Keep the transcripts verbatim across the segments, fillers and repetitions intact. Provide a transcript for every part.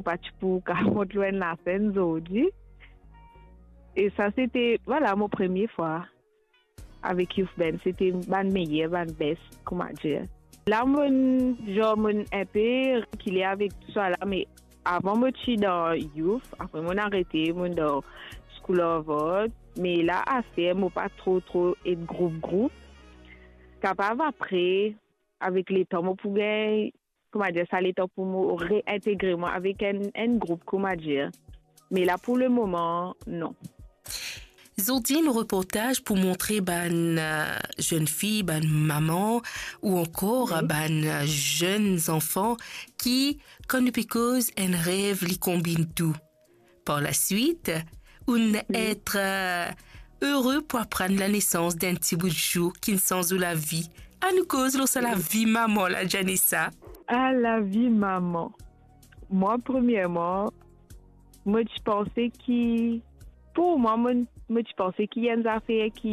Mo pa ti pou kapav mont lor enn lasenn zordi. E sa, sete, vwala, mo premie fwa avek Youth Band. Sete bann meyer, bann best, kouma dir. La, mo'nn, zan, mo'nn inpe rekile avek tousala, me avan mo ti dan Youth, apre mo'nn arete, mo'nn dan School of Art, me la, aster, mo pa tro, tro et group, group. Kapav apre, avek letan, mo pou gagn, kouma dir sa, letan pou mo reintegre mwa avek enn, enn group, kouma dir. Me la, pou lemoman, non. Zordi nou reportaz pou montre bann, euh, zenn fi, bann mama ou ankor, wi, bann, euh, zenn zanfan ki, kan nou pe koz enn rev, li konbinn tou. Par laswit, ou'nn, wi, et, euh, ere pou aprann lanesans d'enn ti bout zour ki'nn sanz ou lavi. Anou koz lor sa lavi mama la, Janessa. Ah, lavi mama. Mwa, premierman, mo ti panse ki, pou mwa, mo, mo ti panse ki enn zafer ki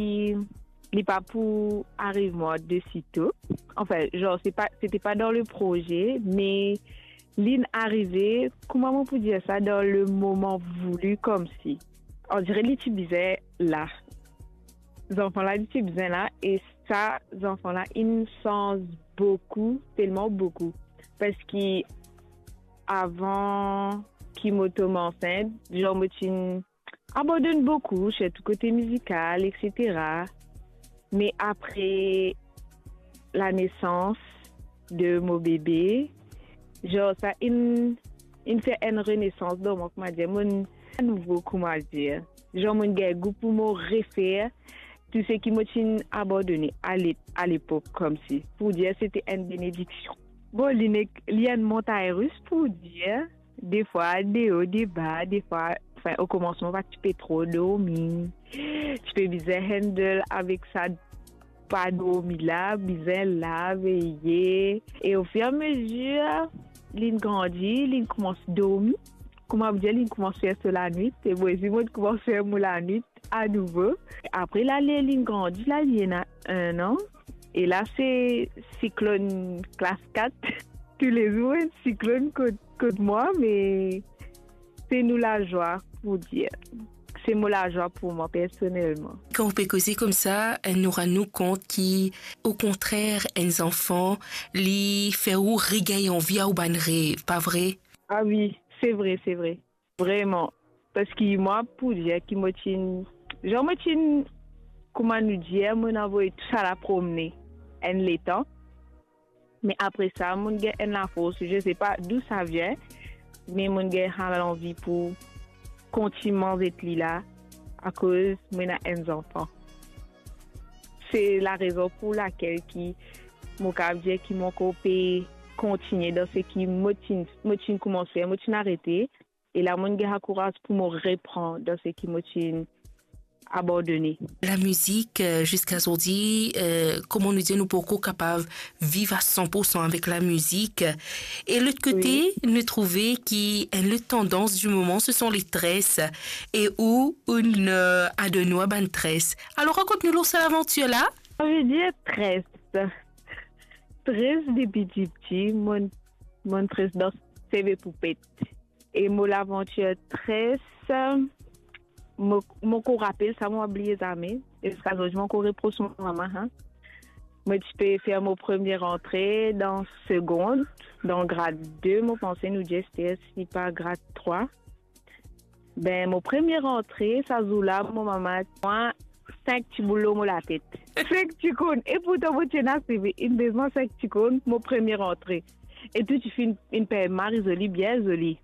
li pa pou ariv mwa de sito. Anfin, zan, se pa, sete pa dan le proze, me li'nn arive, kouma mo pou dir sa, dan le moman voulu, koumsi. On dirait li ti bizin la. Zanfan la, li ti bizin la, e sa, zanfan la, inn sanz boukou, telman boukou. Parski avan ki mo tom ansint, zan, mo ti'nn abandonn boukou, sirtou kote mizikal, etsetera. Me apre lanesans de mo bebe, zan, sa inn, inn fer enn renesans dan mwa, kouma dir, mo'nn nouvo, kouma dir. Zan, mo'nn gagn gou pou mo refer tou seki mo ti'nn abandone ale-, alepok, koumsi. Pou dir, sete enn benediksion. Bon, li nek-, li enn montagn ris, pou dir. Defwa, de o, de ba, defwa, anfin, okomansman, pa ti pe tro dormi. Ti pe bizin handle avek sa pa dormi la, bizin la, veye. E ofirameazir, li'nn grandi, li'nn koumans dormi. Kouma dir, li'nn koumans fer so lanwit. E mwa osi, mo'nn koumans fer mo lanwit anouvo. Apre la, li, li'nn grandi, la, li ena enn an. E la, se siklonn klas kat. Toulezour, enn siklonn kot, kot mwa, me se nou lazwa, pou dir. Se mo lazwa pou mwa, personelman. Kan ou pe koze koumsa, nou rann nou kont ki, okontrer, enn zanfan, li fer ou regagn anvi a ou bann rev, pa vre? Ah wi, se vre, se vre. Vreman. Parski mwa, pou dir ki mo ti'nn, zan, mo ti'nn, kouma nou dir, mo'nn avoy tousala promne enn letan. Me apre sa, mo'nn gagn enn lafors, je sais pas d'où ça vient, me mo'nn gagn sa lanvi pou kontign manz et li la, akoz mo ena enn zanfan. Se larezon pou lakel ki mo kapav dir ki mo ankor pe kontigne dan seki mo ti'nn, mo ti'nn koumans fer, mo ti'nn arete, e la mo'nn gagn sa kouraz pou mo repran dan seki mo ti'nn abandone. Lamizik, euh, ziska zordi, euh, kouma nou dir, nou poko kapav viv a san pour san avek lamizik. E lot kote, wi, nou trouve ki enn lot tandans di moman, se sont les tresses. E ou, ou'nn, euh, adonn ou a bann tres. Alor, rakont nou lor sa lavantir la. Sa ve dir tres. Tres depi tipti, mo'nn, mo'nn tres dan seve poupet. E mo lavantir tres, mo, mo ankor rapel sa, mo pa bliye zame. E ziska zordi, mo ankor repros mo mama, hein. Mo ti pe fer mo premie rantre dan segond, dan grad de, mo panse nou dir, si pa grad trwa. Be, mo premie rantre, sa zour la, mo mama, mwa, sink ti boul lor mo latet. Sink ti korn. E pourtan, mo ti ena seve, inn bezwen sink ti korn, mo premie rantre. E tou ti finn, inn pey mari zoli, bien zoli.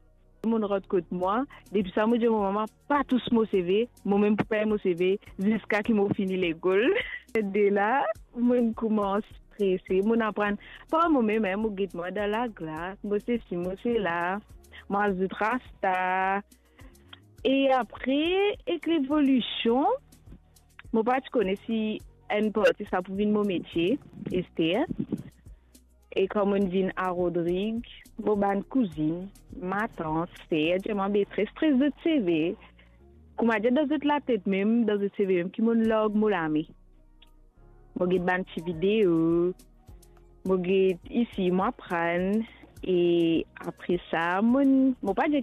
Mo'nn rant kot mwa, depi sa mo dir mo mama, pa tous mo seve, mo mem pou pey mo seve, ziska ki mo fini lekol. De la, mo'nn koumans prese, mo'nn aprann par mo mem, hein, mo get mwa dan laglas, mo sesi, mo sela, mo azout rasta. E apre, ek levolision, mo pa ti kone si enn parti sa pou vinn mo metie, Esther. E kan mo'nn vinn a Rodrig, mo bann kouzinn, matant, ser, dir mwa, be tres, tres zot seve. Kouma dir, dan zot latet mem, dan zot seve mem, ki mo'nn larg mo lame. Mo get bann ti video, mo get isi, mo aprann. E apre sa, mo, mo pa dir